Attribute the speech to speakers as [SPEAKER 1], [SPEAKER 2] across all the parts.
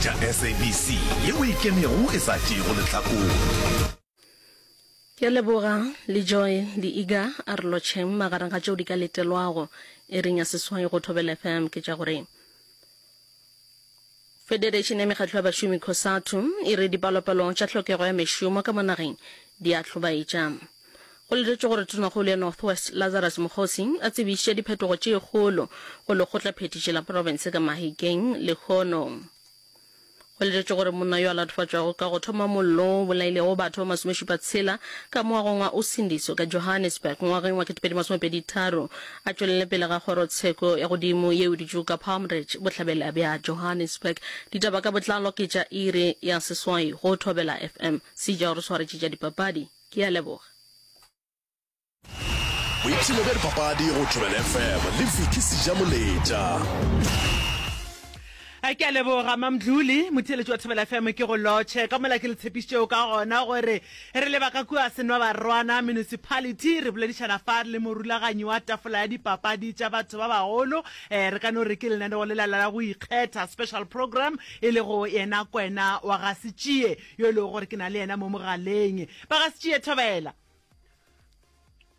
[SPEAKER 1] Tša SABC yeo e ikemego e sa tšeego lehlakore.
[SPEAKER 2] Ke a leboga le Joy le Iga a re lotšheng magareng ga tšeo di ka letelwago iring ya seswai go Thobela FM ke tša gore Federation ya Mekgatlo ya Bašomi Cosatu e re dipalopalo tša hlokego ya mešomo ka mo nageng di a hlobaetša. Go letetšwe gore Tonakgolo ya North West Lazarus Mokgosi a tsebiše diphetogo tše kgolo go lekgotlaphethiši la profense ka Mahikeng lehono. Go letetšwe gore monna yo a latofatšwago ka go thoma mollo wo o bolailego batho ba masomešupatshela ka moagong wa Usindiso ka Johannesburg ngwageng wa 2023 a tšwelele pele ga kgorotsheko ya godimo yeo e dutšego ka Palm Ridge, bohlabela bja Johannesburg. Ditaba ka botlalo ke tša iri ya seswai go Thobela FM. Seja o re swaretše tša dipapadi. Ke a leboga.
[SPEAKER 1] Boipshino bja dipapadi go Thobela FM le Vicky Sejamoletša.
[SPEAKER 3] Ke a leboga Mamdluli, motheeletši wa Thobela FM ke go lotšhe ka mola ke le tshepišitšego ka gona gore re leba ka kua Senwabarwana Municipality re boledišana fa le morulaganyi wa tafola ya dipapadi tša batho ba bagolo eh, re ka no re ke lenaneo lela la go ikgetha special program e lego yena Kwena wa ga Setšie yo e lego gore ke na le yena mo mogaleng. Ba ga Setšie Thobela.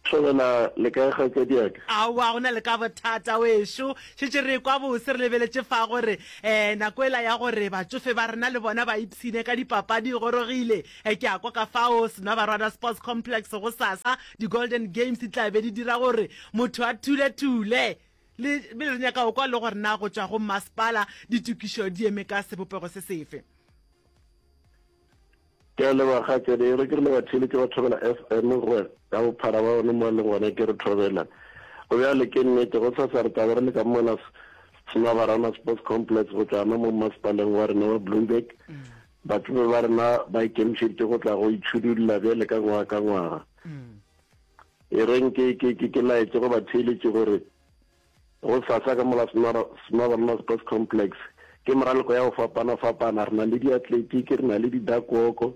[SPEAKER 4] Thobela, le kae kgaetšadiaka?
[SPEAKER 3] Aowa, go na le ka bothata wešo. Šetše re ekwa bose re lebeletše fa gore um nako ela ya gore batšofe ba rena le bona ba ipshine ka dipapadi e gorogile. Ke a kwa ka fao Senwabarwana Sports Complex gosasa di-Golden Games di tla be di dira gore motho a thule-thule. Le bile re nyaka go kwa le gore na go tšwa go mmasepala ditokišo di eme ka sebopego se sefe.
[SPEAKER 4] Ke a leboga kgaetšedi. E re ke re le batheeletši ba Thobela FM gore ka bophara ba bone mo a leng gona ke re thobela. Go bjale ke nnete gosasa re tla be re le ka mona Semabarana Sports Complex go tšwa gona mo mmasepaleng wa rena wa Bloemburg. Batšofe ba rena ba ikemišeditše go tla go itšhudulla bjale ka ngwaga ka ngwaga. E reng ke ke ke ke laetše go batheeletši gore Gosasa ka mola Smabarna Sports Complex ke meraloko ya go fapana-fapana. Re na le diatletiki, re na le di-duck walk,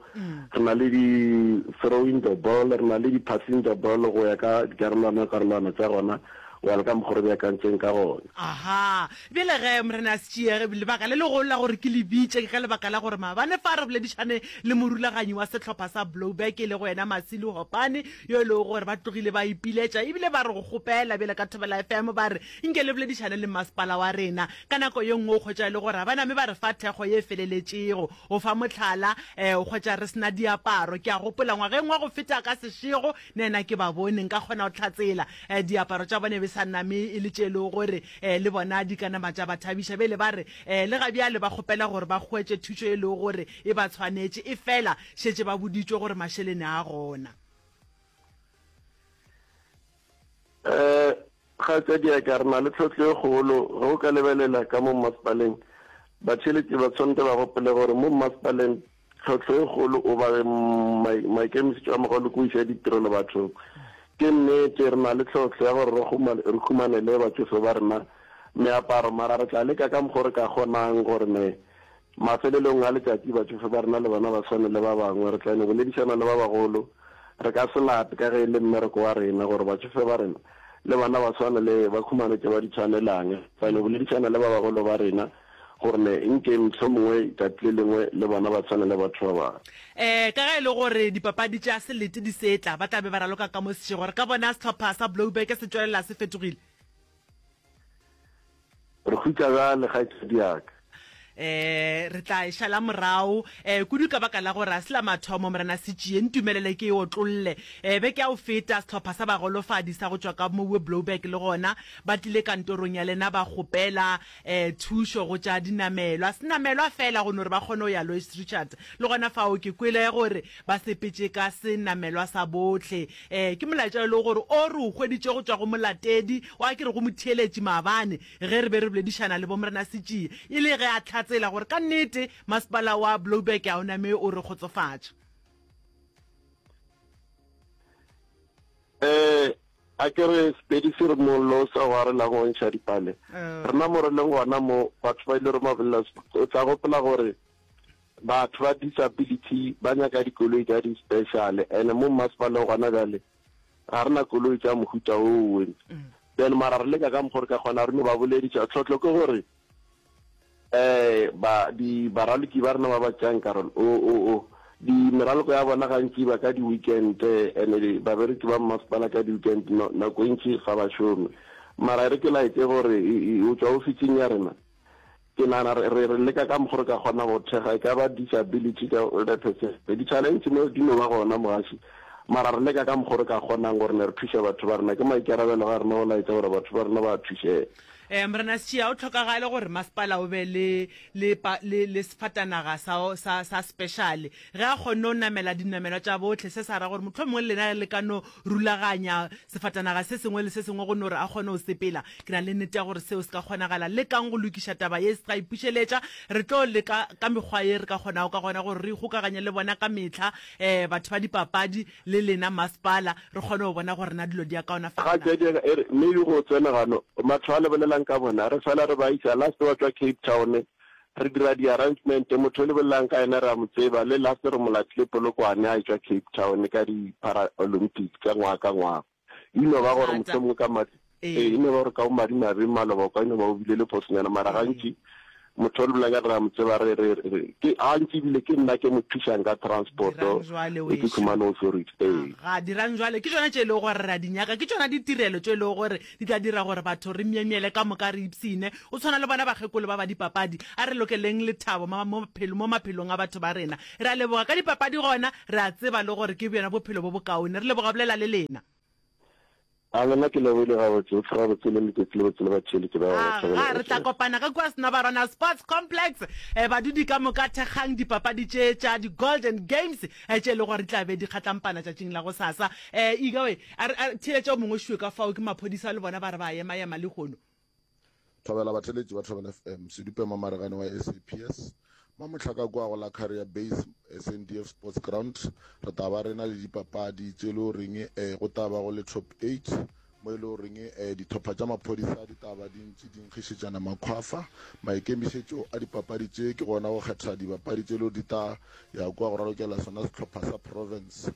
[SPEAKER 4] re na le di-throwing the ball, re na le di-passing the ball go ya ka dikarolwana-karolwana tša gona go ya le ka mokgwa re beakantseng ka gona.
[SPEAKER 3] Aha. Bjale ge, Morena Setšie, lebaka le legolo la gore ke le bitše ke ka lebaka la gore maabane fa re boledišane le morulaganyi wa sehlopha sa Blouberg e lego yena Masilo Hopane, yo e lego gore ba tlogile ba ipiletša ebile ba re go kgopela bjale ka Thobela FM ba re nke le boledišane le masepala wa rena. Ka nako ye nngwe o hwetša e le gore ga ba name ba re fa thekgo ye e feleletšego. Go fa mohlala, o hwetša re se na diaparo. Ke a gopola ngwageng wa go feta ka sešego nena ke ba bone nka kgona go hlatsela diaparo tša bona e be sa name e le tše e lego gore le bona di ka nama tša ba thabiša. Bjale ba re le ga bjale ba kgopela gore ba hwetše thušo e lego gore e ba tshwanetše, efela šetše ba boditšwe gore mašeleni a gona.
[SPEAKER 4] Um Kgaetšediaka, re na le tlhohlo e kgolo. Ge o ka lebelela ka mo mmasepaleng, batheeletši ba tshwanetse ba gopole gore mo mmasepaleng tlhohlo e kgolo o ba maikemišetšo a magolo ke go iša ditirelo bathong. Ke nnete re na le tlhohlo ya gore re humanele batšofe ba rena meaparo, mara re tla leka ka mokgo re ka kgonang gore ne Mafelelong a letšatši batšofe ba rena le bona ba swane le ba bangwe. Re tla no boledišana le ba bagolo. Re ka se lape ka ge e le mmereko wa rena gore batšofe ba rena le bona ba swane le ba khumane tše ba di tshwanelang. Re tla no boledišana le ba bagolo ba rena gore ne nke mohlomongwe tšatši le lengwe le bona ba tshwane le batho ba bangwe.
[SPEAKER 3] Ee, ka ge e le gore dipapadi tša selete di se tla, ba tla be ba raloka ka mo sešego. Re ka bona sehlopha sa Blouberg se tšwelela se fetogile.
[SPEAKER 4] Re hutša bjale, kgaetšedi ya ka.
[SPEAKER 3] E, re tla e šala morago, e, kudu ka baka la gore ga se la mathomo, Morena Setšie. Ntumelele ke e otlolle. E, beke ya go feta, sehlopha sa bagolofadi sa go tšwa ka mowe Blouberg le gona ba tlile kantorong ya lena ba kgopela, e, thušo go tša dinamelwa. Senamelwa feela go no re ba kgone go ya Louis Trichardt. Le gona fao ke kwele gore ba sepetše ka senamelwa sa bohle. E, ke molaetša e lego gore o re o hweditše go tšwa go molatedi wa, ke re go motheeletši maabane ge re be re boledišana le Bomorena Setšie, e le ge a hlatsela gore ka nnete masepala wa Blouberg ga o name o re kgotsofatša.
[SPEAKER 4] E, a ke re Sepedi se re mollo o sa go arelang o ntšha dipale. Rena mo re leng gona mo, batho ba ile re mabolela, o tla gopola gore Batho ba disability ba nyaka dikoloi tša di special ene mo mmasepaleng gona bjale ga re na koloi tša mohuta owe. Then mara re leka ka mokgo re ka kgona re no ba bolediša. Tlhotlo ke gore Eh, ba, di, baraloki ba rena ba ba tšeang karolo, o, o, o, di, meraloko ya bona gantši e ba ka di-weekend, and di, babereki ba mmasepala ka di-weekend, no, nako e ntši ga ba šome. Mara e re ke laetše gore e, e, o tšwa ofising ya rena, ke nagana re, re, re leka ka mokgo re ka kgona go thekga, e ka ba disability ka older person. Di-challenge mo di no ba gona, mogaši, mara re leka ka mokgo re ka kgonang gore ne re thuše batho ba rena. Ke maikarabelo ga rena go laetša gore batho ba rena ba a thušega.
[SPEAKER 3] Eh, Morena Setšia, o tlhokagale gore masepala o be le, le, le, le sefatanaga sa, sa, sa special. Ge a kgonne go namela dinamelwa tša bohle, se sa ra gore mohlomongwe le lena le ka no rulaganya sefatanaga se sengwe le se sengwe go no re a kgone go sepela. Ke na le nnete ya gore seo se ka kgonagala. Lekang go lokiša taba ye, se ka ipušeletša. Re tlo leka ka mekgwa ye re ka kgonago ka gona gore re ikgokaganye le bona ka mehla, eh, batho ba dipapadi, le lena masepala, re kgone go bona gore na dilo di a kaonafala
[SPEAKER 4] na. Kgaetšedi ya ka e re, Maybe go tsena gano, batho ba le bolelang ka bona, re fela re ba isa, last ba tšwa Cape Town, re dira di arrangement, motho o le bolelang ka yena re a mo tseba, le last re mo latile Polokwane a etšwa Cape Town ka di Para Olympic tša ngwaga ka ngwaga. E no ba gore
[SPEAKER 3] Thata.
[SPEAKER 4] mohlomongwe ka madi,
[SPEAKER 3] Ee.
[SPEAKER 4] ee, e no ba gore ka bomadimabe maloba o ka no ba o bile le phosonyana, mara
[SPEAKER 3] Ee.
[SPEAKER 4] gantši motho o le bolelang ka re a mo tseba re, re, re, ke, gantši ebile ke nna ke mo thušang ka transport-o,
[SPEAKER 3] Dirang jwale
[SPEAKER 4] e ke
[SPEAKER 3] wešo.
[SPEAKER 4] khumane authority, ee.
[SPEAKER 3] Aga, dirang jwale. Ke tšona tše e lego gore re a di nyaka. Ke tšona ditirelo tše e lego gore di tla dira gore batho re myemyele ka moka, re ipshine. O tshwana le bona bakgekolo ba ba dipapadi. A re lokeleng lethabo ma, mo, mo maphelong a batho ba rena. Re a leboga ka dipapadi gona, re a tseba le gore ke bjona bophelo bo bokaone. Re leboga bolela le lena.
[SPEAKER 4] A lena ke lebohile gabotse, o gabotse le letšatši le botse le batheeletši ba
[SPEAKER 3] Aga,
[SPEAKER 4] Thobela
[SPEAKER 3] re tla
[SPEAKER 4] FM.
[SPEAKER 3] kopana ka kua Senabarwana Sports Complex. Eh, badudi ka moka thekgang dipapadi tše tša di-Golden Games eh, tše e lego gore di tla be di kgatlampana tšatšing la gosasa. Eh, Ika we, a re, a re theeletše o mongwe šue ka fao ke maphodisa le bona ba re ba ema-ema lehono.
[SPEAKER 5] Thobela batheletši ba Thobela FM, Sedupe Mamaregane wa SAPS, Mamohlaka kua go la Carrier Base SNDF Sports Ground, re tla ba re na le dipapadi tše e le goreng eh, go tla ba go le top 8 mo e le goreng eh, dithopha tša maphodisa di tla ba di ntše di nkgišetšana makhwafa. Maikemišetšo a dipapadi tše ke gona go kgetha dibapadi tše e le gore di tla ya kua go ralokela sona sehlopha sa province.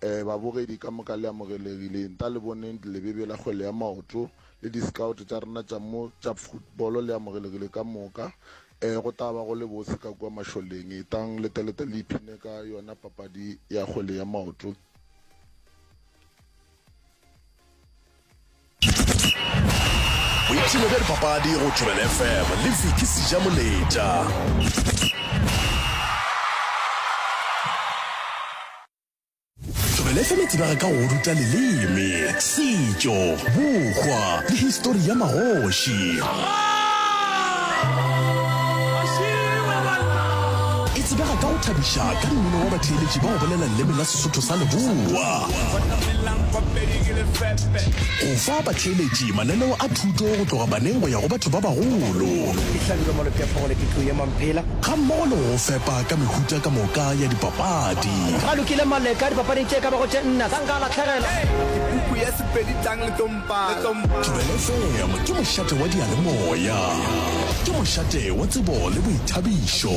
[SPEAKER 5] Ee, babogedi ka moka le amogelegile. Nta le boneng lebebe la kgwele ya maoto le di-scout tša rena tša mo tša football le amogelegile ka moka. Ee, go tla ba go le bose ka kua mašoleng. Etang le telete le iphine ka yona papadi ya kgwele ya maoto.
[SPEAKER 1] Boipshino bja dipapadi go Thobela FM le Vicky Sejamoletša. Thobela FM e tsebega ka go ruta leleme, setšo, bohwa le histori ya magoši. E tsebega ka go thabiša ka mmino wa batheeletši ba go bolela leleme la Sesotho sa Leboa. Go fa batheeletši mananeo a thuto go tloga baneng go ya go batho ba bagolo. Gammogo le go go fepa ka mehuta ka moka ya dipapadi.
[SPEAKER 6] Ralokile Maleka dipapading tše ka bago tše nna, sanka a lahlegelwa.
[SPEAKER 7] Puku ya Sepedi tlang le tlo mpala.
[SPEAKER 1] Thobela FM ke mošate wa diyalemoya. Ke mošate wa tsebo le boithabišo.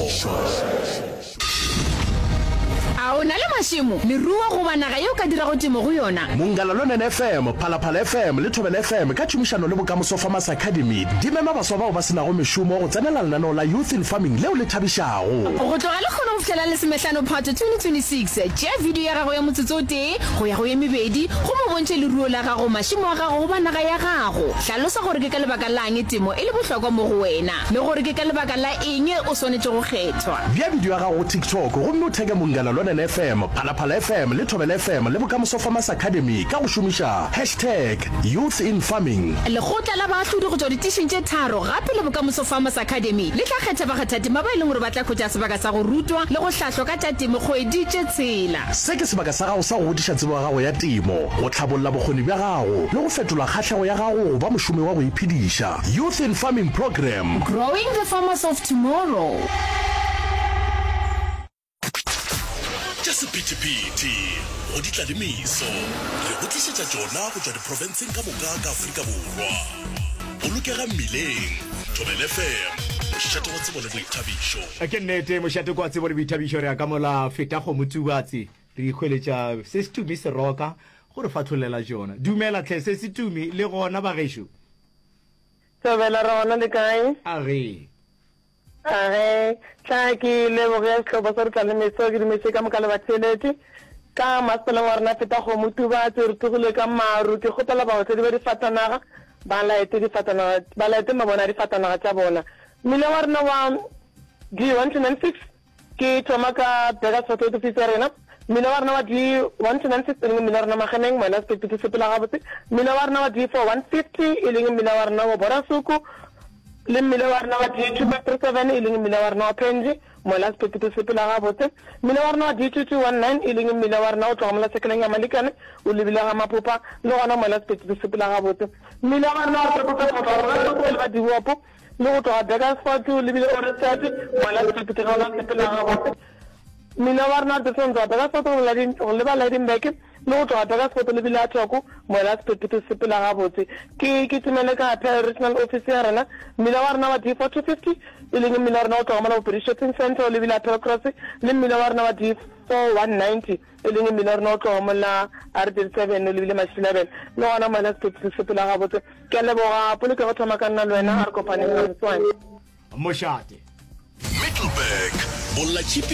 [SPEAKER 8] A o na le mašemo, leruo goba naga ye o ka dirago temo go yona?
[SPEAKER 1] Mongala Lonene FM, Phalaphala FM le Thobela FM ka tšhomišano le Bokamoso Farmers Academy di mema baswa bao ba se nago mešomo go tsenela lenaneo la Youth in Farming leo le thabišago.
[SPEAKER 8] Go tloga lekgono go fihlela lesomehlano Phato 2026, tšea video ya gago ya motsotso o tee go ya go ye mebedi gomme o bontšhe leruo la gago, mašemo a gago goba naga ya gago. Hlalosa gore ke ka lebaka la'ng temo e le bohlokwa mo go wena le gore ke ka lebaka la eng o swanetše go kgethwa.
[SPEAKER 1] Bea bidio ya gago go TikTok gomme o theke Munghana Lonene FM, Phalaphala FM le Thobela FM le Bokamoso Farmers Academy ka go šomiša hashtag YouthInFarming.
[SPEAKER 8] Lekgotla la baahlodi go tšwa ditišing tše tharo gape le Bokamoso Farmers Academy le tla kgetha bakgathatema ba e leng gore ba tla hwetša sebaka sa go rutwa le go hlahlwa ka tša temo kgwedi tše tshela.
[SPEAKER 1] Se ke sebaka sa gago sa go godiša tsebo ya gago ya temo, go hlabolla bokgoni bja gago le go fetola kgahlego ya gago go ba mošomi wa go iphediša. Youth in Farming Programme.
[SPEAKER 8] Growing the farmers of tomorrow.
[SPEAKER 1] Tša sephethephethe go di tla le meso, re go tlišetša tšona go tšwa diprofenseng ka moka ka Afrika Borwa. Bolokega mmileng. Thobela FM, mošate wa tsebo le boithabišo.
[SPEAKER 9] Ke nnete, mošate kwa tsebo le boithabišo. Re ya ka mola feta kgomo Tubatse, re ikhweletša se setumi seroka go re fatlholela tšona. Dumela tlhe se setumi le gona bagešo.
[SPEAKER 10] Thobela re gona le kae?
[SPEAKER 9] A ge.
[SPEAKER 10] Age, tla ke leboge sehlopha sa Re Tla Le Meso, ke dumeše ka moka le batheeletši. Ka masepaleng wa rena Fetakgomo Tubatse, re tsogile ka maru. Ke kgopela baotledi ba difatanaga ba laete difatanaga, ba laete mabone a difatanaga tša bona. Mmila wa rena wa D1296 Ke thoma ka Burgersfort ofisi ya rena. Mmila wa rena wa D1296 e leng mmila wa rena Magemeng, Moela Sephethephethe sepela gabotse. Mmila wa rena wa D4150 e leng mmila wa rena wa Borasuku le mmila wa rena wa D2537 e leng mmila wa rena wa Phenji, Moela Sephethephethe sepela gabotse. Mmila wa rena wa D2219 e leng mmila wa rena o tloga mola sekeleng ya Malikane o lebile ga Maphopha le gona Moela Sephethephethe sepela gabotse. Mmila wa rena wa Triple go tloga Borasuku o leba Dibopo Le go tloga Burgersfort o lebile Ohrigstad, mola sephethephethe gona se sepela gabotse. Mmila wa rena Dixon tloga Burgersfort go Ladin, go leba Lydenburg, le go tloga Burgersfort o lebile Athoko, mola sephethephethe se sepela gabotse. Ke kitimele ka Paarl Regional Office ya rena, mmila wa rena wa D4250, e leng mmila wa rena o tloga mola Bopedi Shopping Centre o lebile Appelcross, le mmila wa rena wa D4190. E leng mmila wa rena o tloga mola R37 o lebile Mašilabela, le gona mola sephethephethe se sepela gabotse. Ke a leboga polokego thoma ka nna le wena, a re kopaneng ka moswane.
[SPEAKER 9] Mošate.
[SPEAKER 1] Middelburg, Bollatšhipi.